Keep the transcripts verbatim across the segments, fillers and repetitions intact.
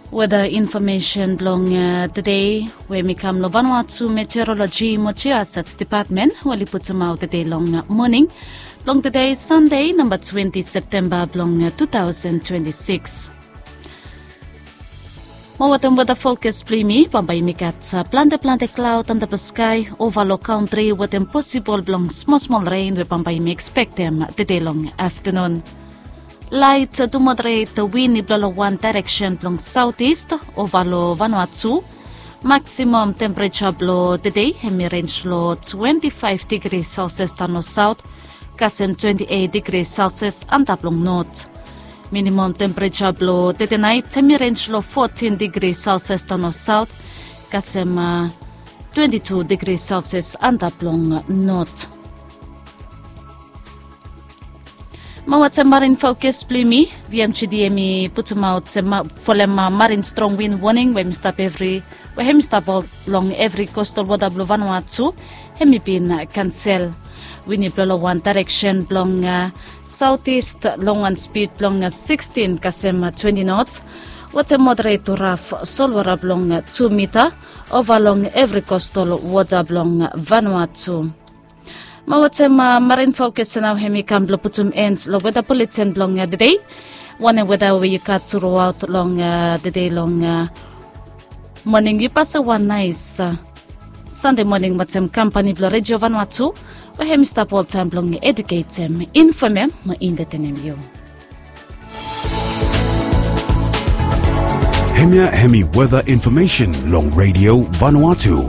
Weda infomesen blong tede we mi kam long Vanuatu Meteorologi mo Geohazards Depatmen we oli putumaot tede long moning blong tede Sande namba twenti Septemba blong tu taosen twenti sikis. Mo wetem weda fokas blong yumi, bambae yumi gat plante plante klaod antap long skae ova long kantri wetem posibol blong smol smol ren we bambae yumi ekspektem tede long aftanun. Lait tu moderet win i blo long wan daereksen blong saotis ova long Vanuatu. Maksimam tempereja blong tede hem i renj long twenti faef digri selsias daon long saot, kasem twenti eit digri selsias antap long not. Minimam tempereja blong tede nait hem i renj long fotin digri selsias daon long saot, kasem twenti tu digri selsias antap long not. Mo wetem marin fokas blong yumi, VMGD hem i putumaot se folem marin strong win woning we hem i stap evri we hem i stap long evri kostal wota blong Vanuatu hem i bin kansel. Win i blo long wan daereksen blong saotis long wan spid blong sikstin kasem twenti not, wetem moderet tu raf solwota blong tu mita ova long evri kostal wota blong Vanuatu. Mo wetem marin fokas nao hem i kam blo putum en long weda buletin blong tede. Wanem weda we yu gat truaot long tede long moning, yu pasem wan naes Sande moning wetem kampani blong Redio Vanuatu we hem i stap oltaem blong eduketem, infomem mo entetenem yu. Hemia hem i weda infomesen long Redio Vanuatu.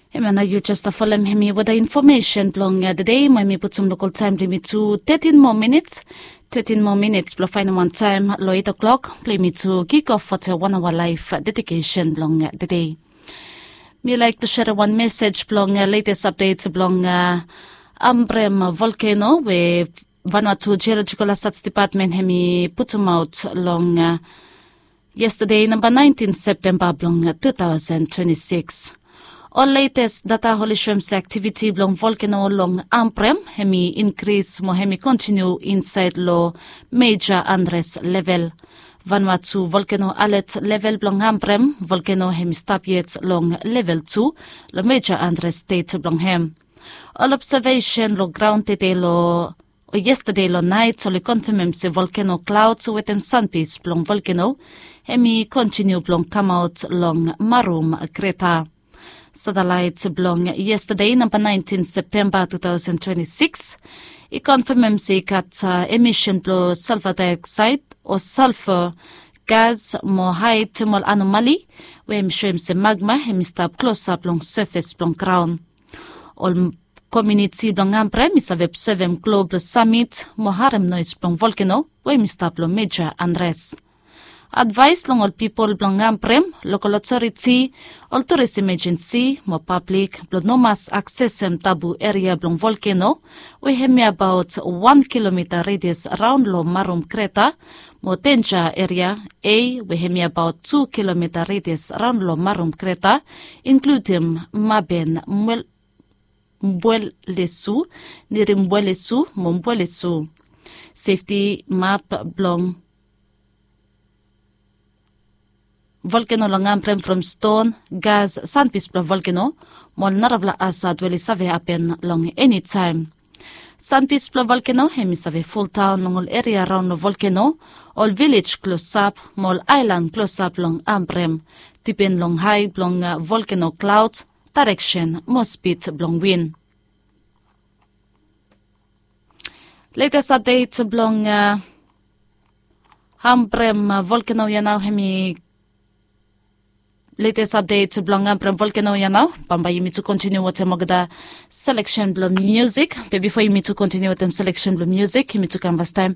Hemia nao yu jes folem hem i weda infomesen blong tede mo hem i putum lokal taem blong yumi tu tetin moa minits. Tetin moa minits blo faenem wan taem long eit oklok blong yumi tu kikof wetem wan aoa laef dedikesen blong tede. Mi laek tu serem wan mesej blong letes apdet blong Ambrem volkeno we Vanuatu Geological Hazards Depatmen hem i putumaot long yestade namba naentin Septemba blong tu taosen twenti sikis. Ol letes data oli soem se aktiviti blong volkeno long Ambrem hem i inkris mo hem i kontiniu insaed long meja andres level. Vanuatu volkeno alet level blong Ambrem volkeno hem i stap yet long level tu long meja andres stet blong hem. Ol obsevesen long graon tede long yestade long naet oli konfemem se volkeno klaod wetem sanpis blong volkeno hem i kontiniu blong kamaot long marum kreta. Satelaet blong yestade namba naentin Septemba tu taosen twenti sikis i konfemem se i gat emisen blong salfa daeoksaed o salfa gas mo hae temol anomali we hem i soem se magma hem i stap klosap long sefes blong graon. Ol komiuniti blong Ambrem i save obsevem global samit mo harem noes blong volkeno we hem i stap long meja andres. Advaes long ol pipol blong Ambrem, lokal otoriti, ol turis imejensi mo pablik blong no mas aksesem tabu eria blong volkeno we hem i abaot wan kilomita redias raon long marum kreta mo denja eria A we hem i abaot tu kilomita redias raon long marum kreta, inkludim maben mbuelesu, nirimbwelesu mo mbwelesu. Sefti map blong volkeno long Ambrem from ston, gas, sanpis blong volkeno mo ol narafala asad we oli save hapen long enitaem. Sanpis blong volkeno hem i save foldaon long ol eria raon long volkeno, ol vilej klosap mo ol aelan klosap long Ambrem, dipen long hae blong volkeno klaod, daereksen mo spid blong win. Letes apdet blong Ambrem volkeno ya nao hem i letes apdet blong Ambrem volkeno ya nao. Bambae yumi tu kontiniu wetem olgeta seleksen blong miusik be bifo yumi tu kontiniu wetem seleksen blong miusik yumi tu kam fastaem